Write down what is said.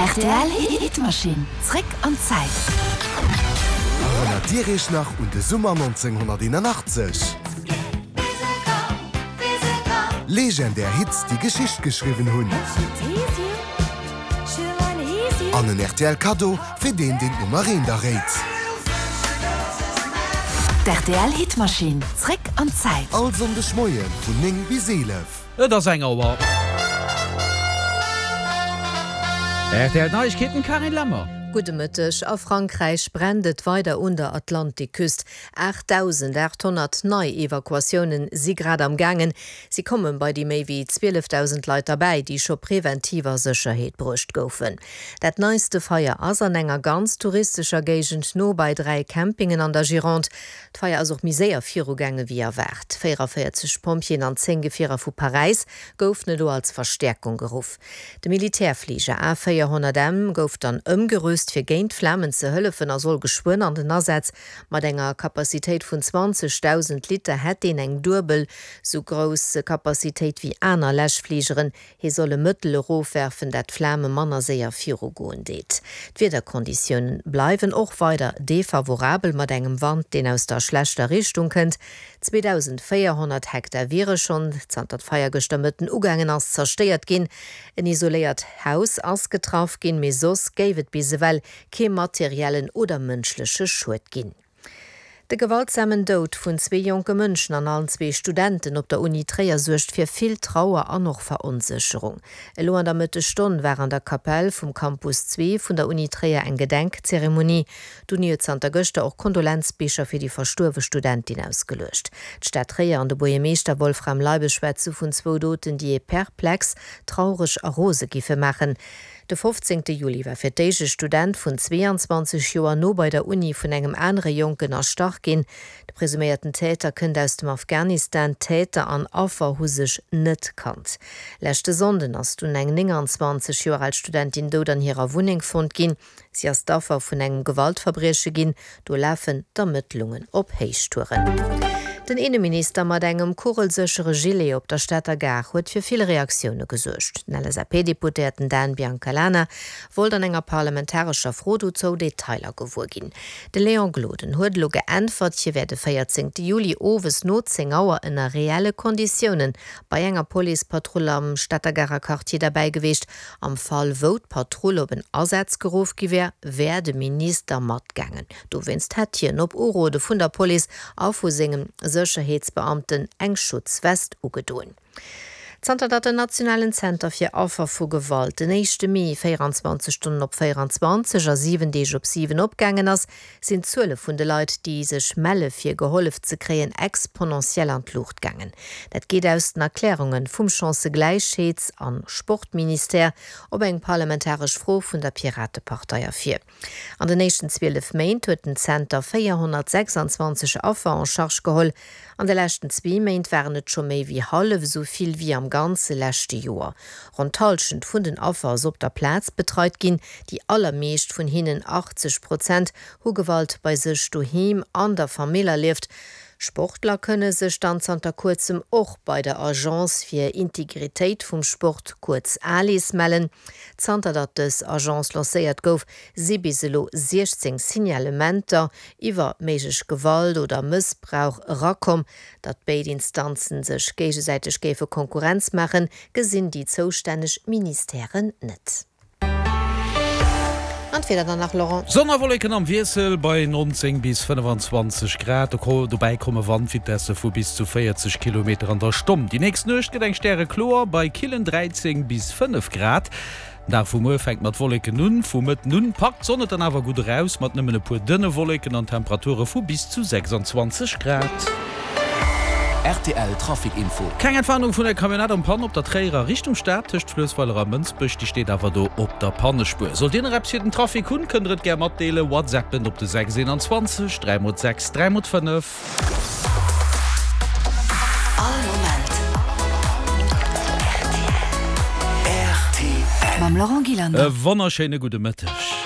Rtl Hitmaschinn, zréck an d'Zäit. Erënnert Dir Iech nach un de Summer 1981? Legendär Hits, déi Geschicht geschriwwen hunn. An en rtl Kaddo fir deen, deen d'Nummer eent erréit. D'RTL Hitmaschinn, zréck an d'Zäit. All Sonndeg Moie vun 9 bis 11. Et ass eng Auer. Rtl Neiegkeeten, Carine Lemmer. Gudde Mëtteg. A Frankräich brennt et weider un der Atlantikküst. 8.800 nei Evakuatioune si grad am gaangen. Si komme bei déi méi wéi 12.000 Leit derbäi, déi scho preventiv a Sécherheet bruecht goufen. Dat neiste Feier ass an enger ganz touristescher Géigend no bei 3 Campingen an der Gironde. D'Feier ass och méi séier virugaange wéi erwaart. 44 Pompjeeën an 10 Gefierer vu Paräis goufen elo als Verstäerkung geruff. De Militärfliger A 400 M gouf dann ëmgerüst, fir géint d'Flamen ze hëllefen a soll geschwënn an den Asaz. Mat enger Capacitéit vun 20.000 Liter hätt deen eng duebel sou grouss Capacitéit wéi aner Läschfligeren. Hie soll e Mëttel erofwerfen, dat d'Flame manner séier virugoen deet. D'Wiederkonditioune bleiwen och weider defavorabel, mat engem Wand, deen aus der schlechter Richtung kënnt. 2.400 Hektar wiere schonn, zanter d'Feier gëschter Mëtten ugaangen ass, zerstéiert ginn. En isoléiert Haus ass getraff ginn, mee soss géif et bis ewell kee materiellen oder mënschleche Schued ginn. De gewaltsamen Doud vun zwee jonke Mënschen an allen zwee Studenten op der Uni Tréier suergt fir vill Trauer an och Veronsécherung. Elo an der Mëttesstonn war an der Kapell vum Campus 2 vun der Uni Tréier eng Gedenkzeremonie. D'Uni huet zanter gëschter och Kondolenzbicher fir déi verstuerwe Studentin ausgeluecht. D'Stad Tréier an de Buergermeeschter Wolfram Leibes schwätze vun zwou Doten, déi ee perplex, traureg a rose giffe maachen. De 15 Juli war fir d'éischt e Student vun 22 Joer no bei der Uni vun engem anere Jonken erstach ginn. De presuméierten Täter kënnt aus dem Afghanistan. Täter an Affer hu sech net kannt. Leschte Sonnden ass dunn eng 29 Joer al Studentin dout an hirer Wunneng fonnt ginn. Si ass d'Affer vun engem Gewaltverbrieche ginn. Do lafen d'Ermëttlungen op Héichtouren. Den Inneminister mat engem kugelséchere Gilet op der Stater Gare huet fir vill Reaktioune gesuergt. Den LSAP-Deputéierten Dan Biancalana wollt an enger parlamentarescher Fro dozou Detailer gewuer ginn. De Léon Gloden huet elo geäntwert, hie wär de 14 Juli owes no 10 Auer ënner reelle Konditioune bei enger Policepatrull am Stater Garer Quartier derbäi gewiescht. Am Fall wou d'Patrull op en Asaz geruff gi wär, wär de Minister matgaangen. Dowéinst hätt hien op Urode vun der Police a vu sengem Sécherheetsbeamten eng Schutzwest ugedoen. Zanter datt den Nationalen Zenter fir Affer vu Gewalt den éischte Mee 24 Stonnen op 24 a 7 Deeg op 7 opgaangen ass, sinn d'Zuele vun de Leit, déi sech melle fir gehollef ze kréien, exponentiell an d'Luucht gaangen. Dat geet aus den Erklärunge vum Chancëgläichheets a Sportministère op eng parlamentaresch Fro vun der Piratepartei ervir. An den éischten 12 Méint huet den Zenter 426 Affer en charge geholl. An de leschten zwee Méint waren et scho méi wéi hallef esou vill wéi am ganze leschte Joer. Ronn d'Hallschent vun den Affer ass op der Plaz betreit ginn. Déi allermeescht vun hinnen, 80 Prozent, hu Gewalt bei sech doheem an der Famill erlieft. Sportler kënne sech dann zanter kuerzem och bei der Agence fir Integritéit vum Sport, kuerz ALIS, mellen. Zanter datt dës Agence lancéiert gouf, si bis elo 16 Signalementer iwwer méiglech Gewalt oder Mëssbrauch erakomm. Datt béid Instanzen sech géigesäiteg géife Konkurrenz maachen, gesinn déi zoustänneg Ministèren net. An d'Wieder dann nach, Laurent? Sonn a Wolleken am Wiessel bei 19 bis 25 Grad. Dobäi komme Wandvitesse vu bis zu 40 Kilometer an der Stonn. Déi nächst Nuecht gëtt eng stärekloer bei killen 13 bis 5 Grad. Den Dag vu muer fänkt mat Wolleken un, vu Mëtten un packt d'Sonn et dann awer gutt eraus, mat nëmmen e puer dënne Wolleken an Temperature vu bis zu 26 Grad. Rtl Trafic Info. Keng Entwarnung vun der Camionnette en Panne op der Tréierer Richtung Stad tëscht Fluessweiler a Mënsbech, déi steet awer do op der Pannespuer. Sollt Dir nach eppes fir den Trafic hunn, kënnt der et gär matdeelen, WhatsAppen op de 6 21 3 x 6 3 x 5. All Moment rtl. Mam Laurent Gillander. E wonnerschéine gudde Mëtteg.